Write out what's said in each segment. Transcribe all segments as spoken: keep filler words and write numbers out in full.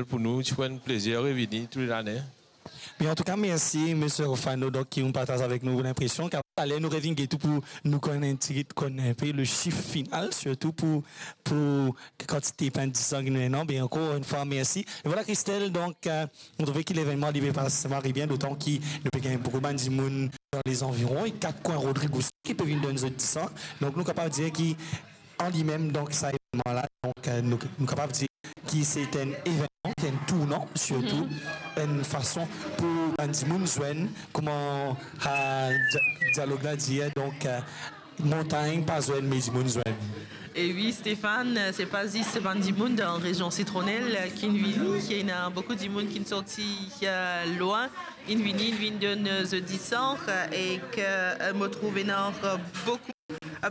Pou nou, ti pou enn plezir revini tou lane. Bien, antouka, mersi, Misie Rofano, donk, ki ou partaz avek nou linpresion. Taler nou revinn get ou pou nou konn enn tigit, konn enn pe le sif final, sirtou pou, pou kantite pint disan ki nou ena. Bien, ankor enn fwa, mersi. E vwala, Christelle, donk, euh, nou trouve ki levennman li pe pas mari bien, dotan ki nou pe gagn boukou bann dimoun dan lezanviron, e kat kwin Rodrig osi ki pe vinn donn zot disan. Donk, nou kapav dir ki an limem, donk, sa evennman la, donk, euh, nou, nou kapav dir ki se enn evennman, ki enn tournan, sirtou, enn fason pou bann dimoun zwenn, kouma, ah, dia-, dialog la dir, donk, euh, montagn pa zwenn, me dimoun zwenn. E wi, Stéphane, se pa zis bann dimoun dan rezion Sitronel, euh, ki'nn vini, ena boukou dimoun ki'nn sorti, euh, lwin, inn vini, inn vinn donn, euh, zot disan, euh, ek, euh, mo trouve ena, euh, boukou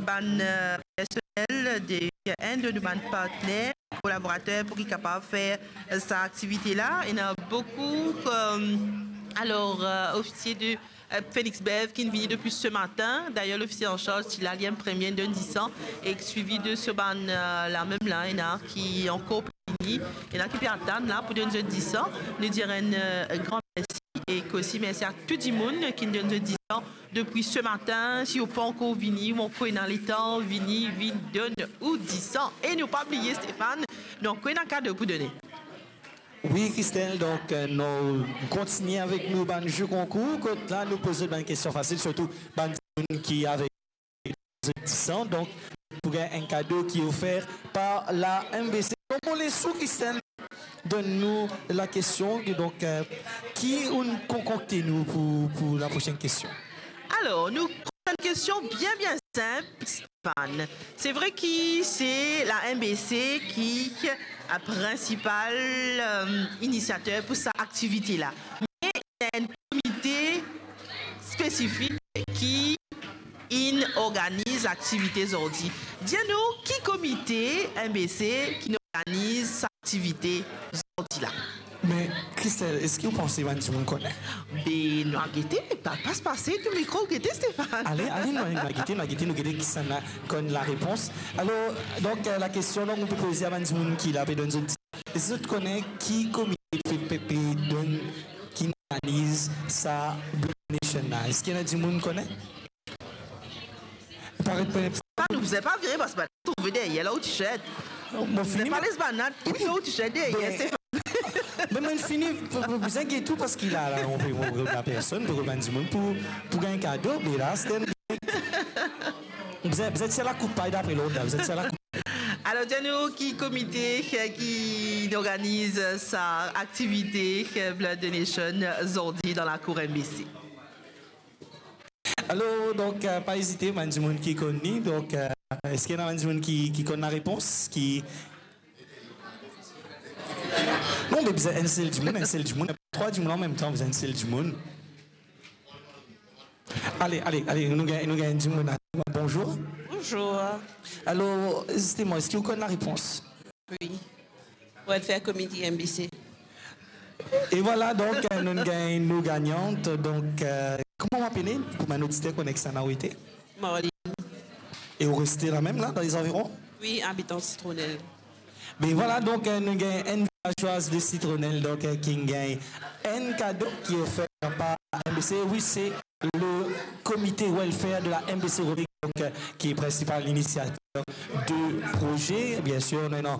bann, euh, personel de enn de nou bann partner, kolaborater pou ki kapav fer, euh, sa aktivite la. Ena boukou, euh, alor, euh, ofisie de, euh, Phoenix Bev ki'nn vini depi se matin. Dayer, lofisie an sarz ti la, li enn premie, inn donn disan, e swivi de so bann, euh, la mem la, ena ki ankor pe vini, ena ki pe atann la pou donn zot disan. Nou dir enn, euh, gran mersi. Ek osi mersi a tou dimoun ki'nn donn zot disan depi se matin. Si ou pa ankor vini, ou ankor ena letan, vini, vinn donn ou disan. E nou pa bliye, Stéphane, nou ankor ena kado pou done. Wi, Christelle, donk, euh, nou kontigne avek nou bann jeu konkour, kot la nou poz bann kestion fasil, sirtou bann dimoun ki avek zot disan, donk, pou gagn enn kado ki ofer par la M B C. Donk, mo les ou, Christelle, donn nou la kestion, donk, euh, ki ou'nn konkokte nou pou, pou la prosenn kestion. Alor, nou prosenn kestion bien, bien sinp, Stéphane. Se vre ki se la M B C ki, euh, prinsipal, euh, inisiater pou sa aktivite la. Me ena enn komite spesifik ki inn organiz aktivite zordi. Dir nou ki komite M B C ki'nn organiz sa aktivite zordi la. Me, Christelle, eski ou panse bann dimoun kone? Be, nou a gete, pa, pas pase tou mikro, gete, Stéphane. Ale, ale, nou, nou a gete, nou a gete, nou gete kisannla konn larepons. Alor, donk, euh, la kestion, donk, nou pe poze a bann dimoun ki la pe donn zot, eski zot kone ki komite pe, pe, pe donn, ki'nn organiz sa Blood Donation la? Eski ena dimoun kone? Paret pe... Pa nou bizin pa vire, parski bann trouve deryer la ou t-shirt. Mo fini, pa les bann la, wi, ou t-shirt deryer, be, Stéphane. Me mo fini, mo bizin get ou, parski la, la, nou pe, nou pe rod personn, nou pe rod bann dimoun pou, pou gagn kado, be la, se bizin, bizin tir lakoup, pa enn apre lot la, bizin tir lakoup. Alor, dir nou ki komite, eh, ki'nn organiz sa aktivite, eh, Blood Donation, zordi dan lakour M B C. Alor, donk, eh, pa ezite, bann dimoun ki konn li, donk, eh, eski ena bann dimoun ki, ki konn larepons, ki... Non, me bizin enn sel dimoun, enn sel dimoun, trwa dimoun anmemtan, bizin enn sel dimoun. Ale, ale, ale, nou gagn, nou gagn dimoun la. Bonzour. Bonzour. Alor, zisteman, eski ou konn larepons? Wi. Welfare Committee, M B C. E vwala, donk, eh, nou gagn nou gagnant. Donk, eh, kouma ou apele, pou bann oditer konn kisannla ou ete? Marline. E ou reste lamem la, dan lezanviron? Wi, abitan Sitronel. Be vwala, donk, eh, nou gagn enn vilazwaz de Sitronel, donk, eh, ki'nn gagn enn kado ki ofer par M B C. Wi, se le comité welfare de la M B C Rodrig, donk, eh, ki prinsipal inisiater de proze. Biensir, nou ena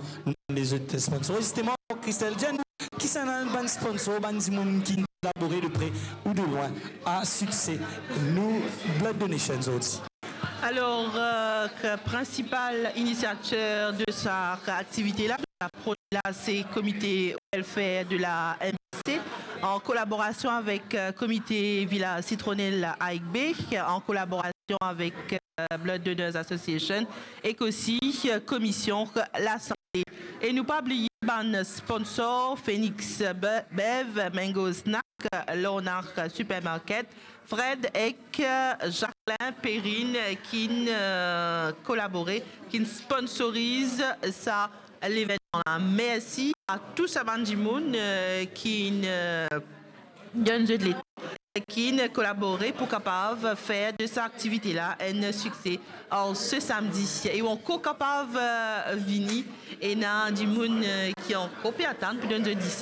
lezot sponsor. Zisteman, Christelle, dir nou, kisannla bann sponsor, bann dimoun ki kolabore de pre ou de lwin a sikse nou Blood Donation zordi? Alor, eh, prinsipal inisiater de sa aktivite la, la proze la, se Comité Welfare de la M B C, an kolaborasion avek, eh, Komite Vilaz Sitronel Aigbe, an kolaborasion avek, eh, Blood Donors Association, ek osi, eh, Komisyon Lasante. E nou pa bliye bann sponsor, Phoenix Be-, Bev, Mango Snack, Lorna Supermarket, Fred ek, eh, Jacqueline Perrine, eh, ki'nn, eh, kolabore, ki'nn sponsoriz sa levennman la. Mersi a tou sa bann dimoun, eh, ki'nn, eh, donn zot letan, ki'nn kolabore pou kapav fer de sa aktivite la enn sikse an se samdi. E ou ankor kapav, eh, vini, ena dimoun, eh, ki ankor pe atann pou donn zot dis